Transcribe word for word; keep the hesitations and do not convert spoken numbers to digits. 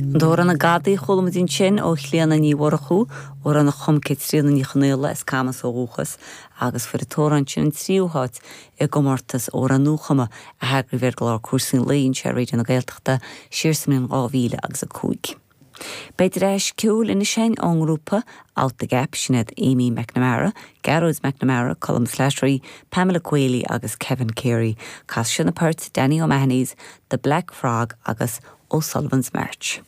An t-amhrán An Gadaí a chuala muid ansin ó Chlíona Ní Mhurchú, amhrán a chum Caitríona Ní Chonaola as Camas ó dhúchas, agus fuair an t-amhrán sin an tríú háit i gcomórtas amhrán nuachumtha a heagraíodh ar gclár Cúrsaí an Lae anseo ar Raidió na Gaeltachta siar sa mbliain dhá mhíle agus a cúig. Beidh dreas ceoil anois ón ngrúpa Out the Gap sin iad Amy McNamara, Gearóid McNamara, Colm Slattery, Pamela Quayle agus Kevin Carey, Casfaidh siad na poirt Danny O'Mahony's, The Black Frog agus O'Sullivan's March.